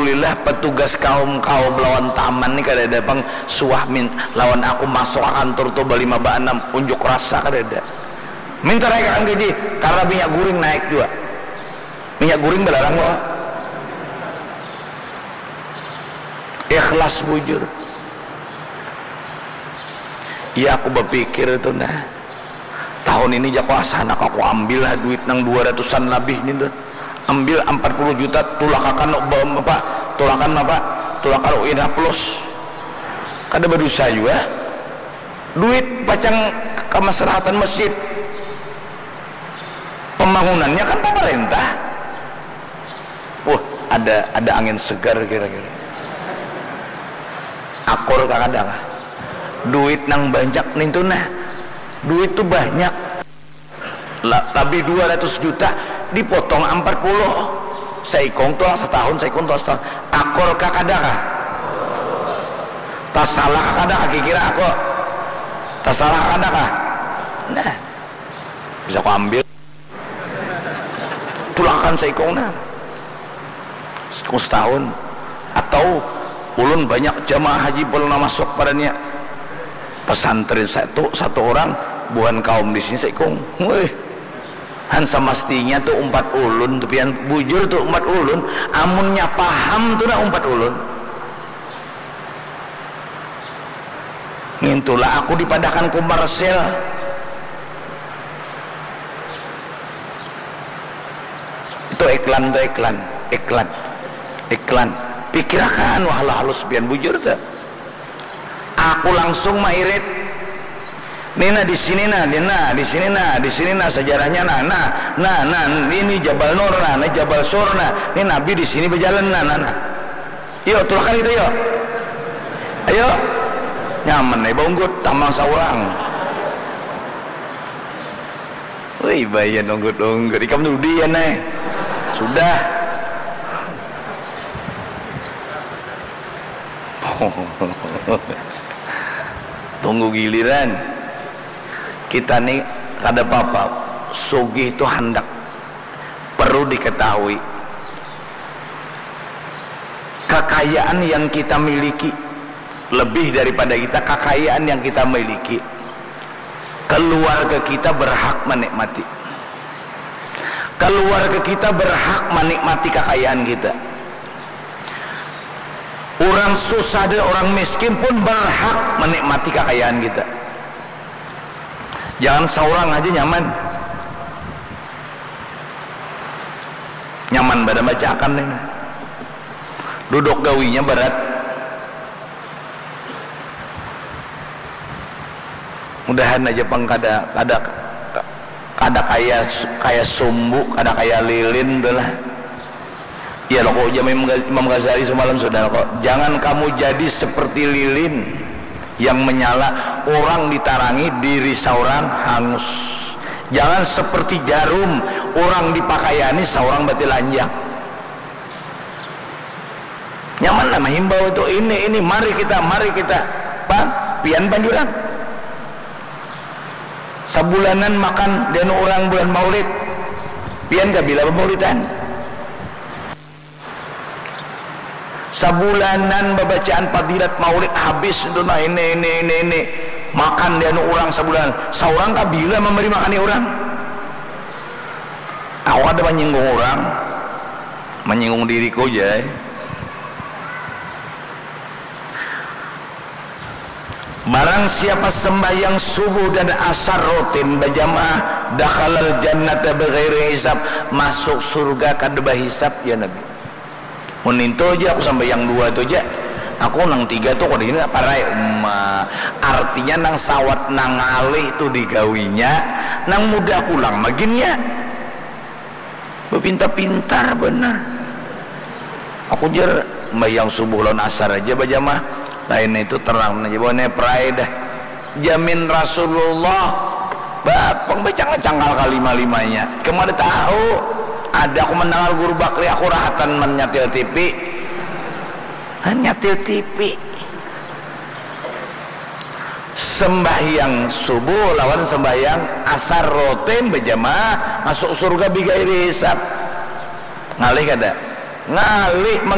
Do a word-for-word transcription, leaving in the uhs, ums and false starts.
Alhamdulillah, petugas kaum-kaum lawan taman ni kadada pang suah min-, lawan aku masuk ka kantur tu balima baanam, unjuk rasa kadada. Minta naikakan gaji, karena minyak guring naik jua. Minyak guring balarang lo. Ikhlas bujur. Iya, aku bapikir tu nah. Tahun ini jako asa handak aku ambil lah duit nang dua ratusan labih nintu. Ambil ampat puluh juta, tulakakan, ba-, apa, tulakan apa, tulakan U I N H plus. Kada badusa jua. Duit pacang kamaslahatan masjid. Pambangunannya kan pamarintah. Wah, ada, ada angin segar kira-kira. Akur kah kada kah? Duit nang banyak nintu nah. Duit tu banyak. La-, labih dua ratus juta, dipotong ampat puluh. Saikung tu lah satahun, saikung tu lah satahun. Akur kah kada kah? Tasalah kah kada kah kikira aku? Tasalah kah kada kah? Nah, bisa ku ambil. Tulakan saikung nah. Saikung satahun. Atau ulun banyak jamaah haji pernah masuk padanya. Pesantren satu, satu orang, buhan kaum di sini saikung. Wih. Han, samastinya tu umpat ulun tu pian, bujur tu umpat ulun, amunnya paham tu nah umpat ulun. Ngintulah aku dipadakan komersil. Itu iklan tu, iklan, iklan, iklan. Pikirakan, wah, halus pian bujur tu. Aku langsung mairit. Ni nah di sini nah, ni nah di sini nah, di sini nah sejarahnya nah, nah, nah, nah, ini Jabal Nur nah, ini Jabal Sur nah, ini Nabi di sini berjalan nah, nah, nah. Yuk, tulakan itu yuk. Ayo. Nyaman nih bungkut tambang saurang. Wih, bayar nunggut-nunggut. Ikam dudi ya, Nay. Sudah. Tunggu giliran. Kita nih kada apa-apa. Sugih itu handak. Perlu diketahui, kekayaan yang kita miliki, lebih daripada kita, kekayaan yang kita miliki, keluarga kita berhak menikmati. Keluarga kita berhak menikmati kekayaan kita. Orang susah dan orang miskin pun berhak menikmati kekayaan kita. Jangan seorang aja nyaman. Nyaman banar bacakan ini. Duduk gawinya berat. Mudahan aja pang kada, kada, kada kaya, kaya sumbu, kada kaya lilin tu lah. Ya lo, kok ujar Imam Ghaz-, Imam Ghazali semalam sudah lo, kok. Jangan kamu jadi seperti lilin yang menyala, orang ditarangi, diri seorang hangus. Jangan seperti jarum, orang dipakaiani, seorang batilanjang. Nyaman lah mahimbau itu, ini, ini, mari kita, mari kita. Pan, pian panjuran. Sabulanan makan dianu orang bulan Maulid. Pian kabila bamaulidan? Sabulanan babacaan fadilat maulid habis itu nah, ini, ini, ini, ini. Makan dianu orang sabulanan. Saurang kabila mambari makani orang? Aku kada manyinggung orang, manyinggung diriku ja. Barang siapa sembahyang subuh dan asar rutin bajamaah, dakhalal jannata bighairi hisab, masuk surga kada bahisab, ya Nabi. Mun nintu ja aku sambahyang dua tu ja. Aku nang tiga tu kada ini parai. Uma, artinya nang sawat nang ngalih tu digawinya, nang mudah pulang maginya. Bapintar-pintar banar. Aku jar, sembahyang subuh lawan asar aja bajamaah. Lain itu terang aja bawa ne pride dah. Jamin Rasulullah. Ba, pang bacangkal kalima-limanya. Kamu ada tahu? Ada aku mendengar guru bakri aku rahatan menyatil T V. Hah, nyatil T V. Sembahyang subuh lawan sembahyang asar rutin berjamaah masuk surga bigairi hisab. Ngalih kada? Ngalih.